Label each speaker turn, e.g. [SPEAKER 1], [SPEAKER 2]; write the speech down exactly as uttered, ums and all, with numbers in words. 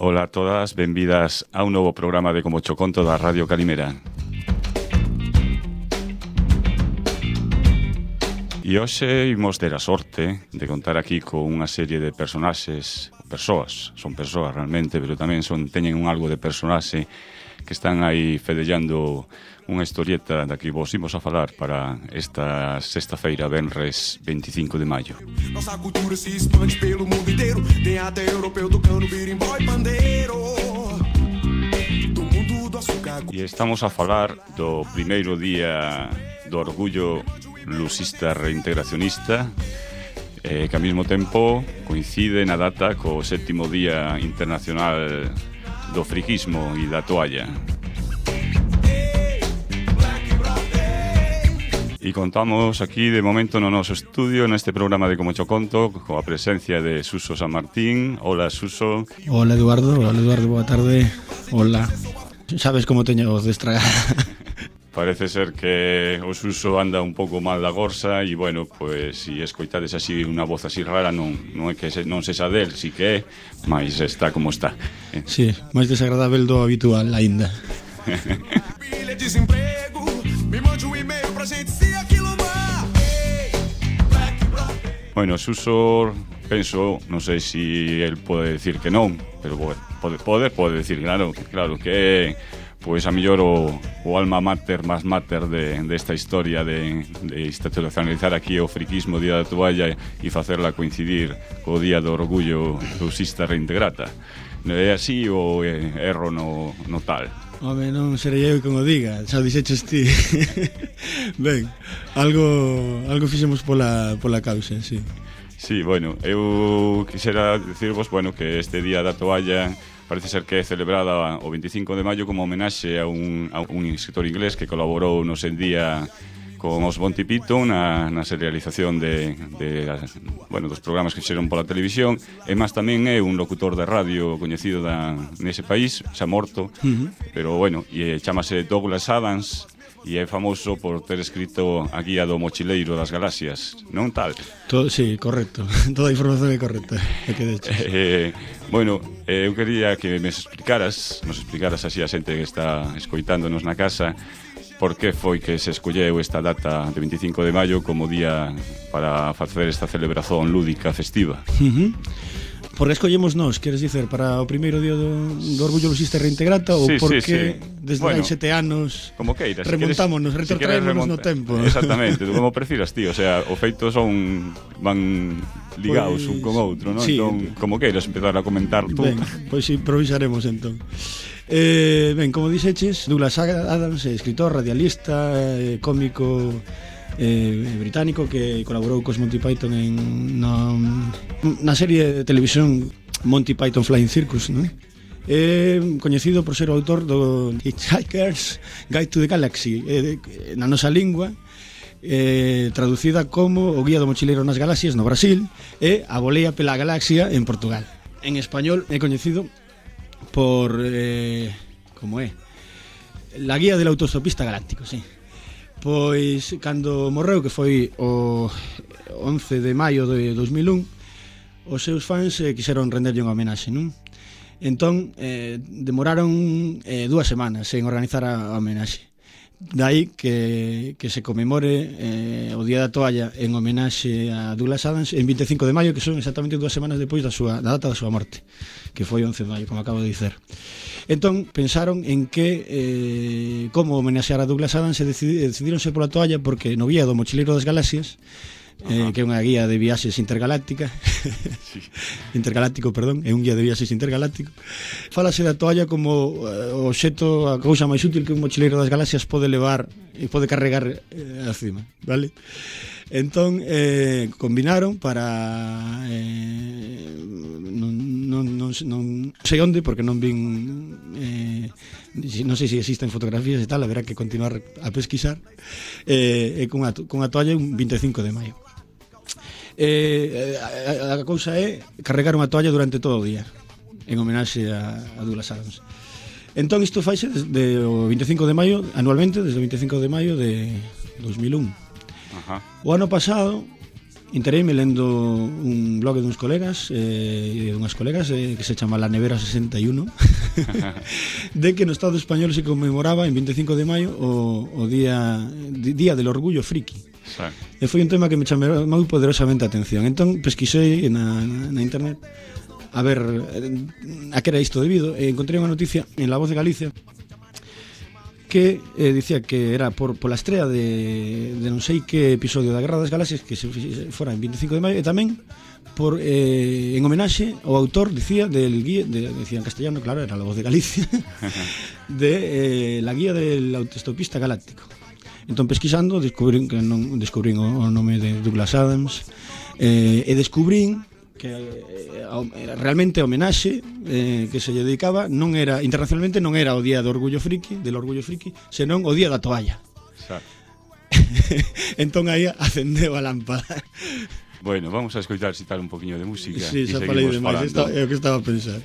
[SPEAKER 1] Ola a todas, benvidas a un novo programa de Como Cho Conto da Radio Calimera. E hoxe imos ter a sorte de contar aquí con unha serie de personaxes, persoas, son persoas realmente, pero tamén son teñen un algo de personaxe que están aí fedellando unha historieta da que vos imos a falar para esta sexta-feira, venres veinticinco de maio. Nossa cultura se expande pelo mundo inteiro, tem até europeu tocando birimbau e pandeiro. Do mundo do açúcar. E estamos a falar do primeiro día do orgullo lusista reintegracionista, eh, que ao mesmo tempo coincide na data co sétimo día internacional do friquismo e da toalla. E contamos aquí de momento no noso estudio, neste programa de Como Cho Conto, coa presencia de Suso San Martín. Hola, Suso.
[SPEAKER 2] Hola, Eduardo. Hola, Eduardo, boa tarde. Hola. Sabes como teño a voz destragada.
[SPEAKER 1] Parece ser que o Suso anda un pouco mal da gorsa e, bueno, pois, se escoitades así unha voz así rara, non, non é que se, non sexa del, si que é, mas está como está.
[SPEAKER 2] Sí, máis desagradável do habitual, aínda.
[SPEAKER 1] Bueno, Suso, penso, non sei se si el pode decir que non, pero pode, pode, pode decir, claro, claro que é, pois a mellor o, o alma mater, más mater de, de esta historia de, de institucionalizar aquí o friquismo, o Día da Toalla e facerla coincidir co Día do Orgullo Lusista Reintegrata. É así ou é erro no, no tal?
[SPEAKER 2] Home, non serei eu como diga, xa dixeches ti. Ben, algo algo fixemos pola, pola causa, sí.
[SPEAKER 1] Sí, bueno, eu quixera dicirvos, bueno, que este Día da Toalla parece ser que é celebrada o veinticinco de maio como homenaxe a un, a un escritor inglés que colaborou no sen día con os Monty Python na, na serialización de, de bueno, dos programas que fixeron pola televisión, e máis tamén é un locutor de radio coñecido da, nese país, xa morto, uh-huh. Pero bueno, e chamase Douglas Adams e é famoso por ter escrito a guía do mochileiro das galaxias, non tal?
[SPEAKER 2] Todo, sí, correcto, toda a información é correcta. É que de hecho.
[SPEAKER 1] Eh, bueno, eh, eu quería que me explicaras, nos explicaras así a xente que está escoitándonos na casa, por que foi que se escolleu esta data de veinticinco de maio como día para facer esta celebración lúdica festiva?
[SPEAKER 2] Uh-huh. Por que escollemos nós, queres dicer, para o primeiro día do, do Orgullo Lusista Reintegrata, ou
[SPEAKER 1] sí,
[SPEAKER 2] porque
[SPEAKER 1] sí, sí.
[SPEAKER 2] Desde
[SPEAKER 1] bueno,
[SPEAKER 2] hai sete anos
[SPEAKER 1] como queiras,
[SPEAKER 2] remontámonos, si retrotraémonos si no tempo?
[SPEAKER 1] Exactamente, como prefiras ti, o sea, o feito son van ligados pues, un con outro, non?
[SPEAKER 2] Sí,
[SPEAKER 1] entón, como queiras empezar a comentar tú.
[SPEAKER 2] Ben, pois pues improvisaremos entón. Eh, ben, como dixeches, Douglas Adams, escritor, radialista, eh, cómico eh, británico que colaborou cos Monty Python en no, na serie de televisión Monty Python Flying Circus, non? É coñecido por ser o autor do Hitchhiker's Guide to the Galaxy, eh, na nosa lingua, eh, traducida como O Guía do Mochileiro nas Galaxias no Brasil e A Volea pela Galaxia en Portugal. En español é coñecido por eh, como é La Guía del Autostopista Galáctico, sí. Pois cando morreu, que foi o once de maio de dos mil un, os seus fans eh, quixeron renderlle unha homenaxe, non? Entón eh, demoraron eh, dúas semanas en organizar a, a homenaxe. Daí que, que se conmemore eh, o Día da Toalla en homenaxe a Douglas Adams en veinticinco de maio, que son exactamente dúas semanas depois da, súa, da data da súa morte, que foi once de maio, como acabo de dizer. Entón pensaron en que eh, como homenaxear a Douglas Adams e decidironse pola toalla porque no Guía do Mochileiro das Galaxias, eh, que é unha guía de viaxes intergaláctica, sí. intergaláctico, perdón, é un guía de viaxes intergaláctico. Fálase da toalla como eh, o obxecto, a cousa máis útil que un mochileiro das galaxias pode levar e pode carregar eh, acima, vale? Entón eh, combinaron para eh, non, non, non, non sei onde, porque non vin eh, non sei se existen fotografías e tal, haberá que continuar a pesquisar, eh, e con a, con a toalla un veinticinco de maio. Eh, a, a, a cousa é carregar unha toalla durante todo o día en homenaxe a, a Douglas Adams. Entón isto faise desde o veinticinco de maio anualmente, desde o veinticinco de maio de dos mil un.
[SPEAKER 1] Ajá.
[SPEAKER 2] O ano pasado Intereime lendo un blog de uns colegas eh, de unhas colegas eh, que se chama La Nevera sesenta e uno de que no Estado español se conmemoraba en veinticinco de maio o, o día día del orgullo friki. Sí. E foi un tema que me chamou moi poderosamente a atención. Entón pesquisei na, na internet a ver a que era isto debido e encontrei unha noticia en La Voz de Galicia que eh, dicía que era por pola estrea de, de non sei que episodio da Guerra das Galaxias que se fora en veinticinco de maio e tamén por eh, en homenaxe ao autor, dicía, del guía, de, decía en castellano, claro, era La Voz de Galicia de eh, la guía del autoestopista galáctico. Entón pesquisando descubrín que non descubrín o, o nome de Douglas Adams eh, e descubrín que eh, realmente a homenaxe eh, que se lle dedicaba non era internacionalmente non era o día do orgullo friki, del orgullo friki, senón o día da toalla. Entón aí acendeu a lámpada.
[SPEAKER 1] Bueno, vamos a escoitar citar un poquinho de música.
[SPEAKER 2] Sí, xa falei demais, é o que estaba a pensar.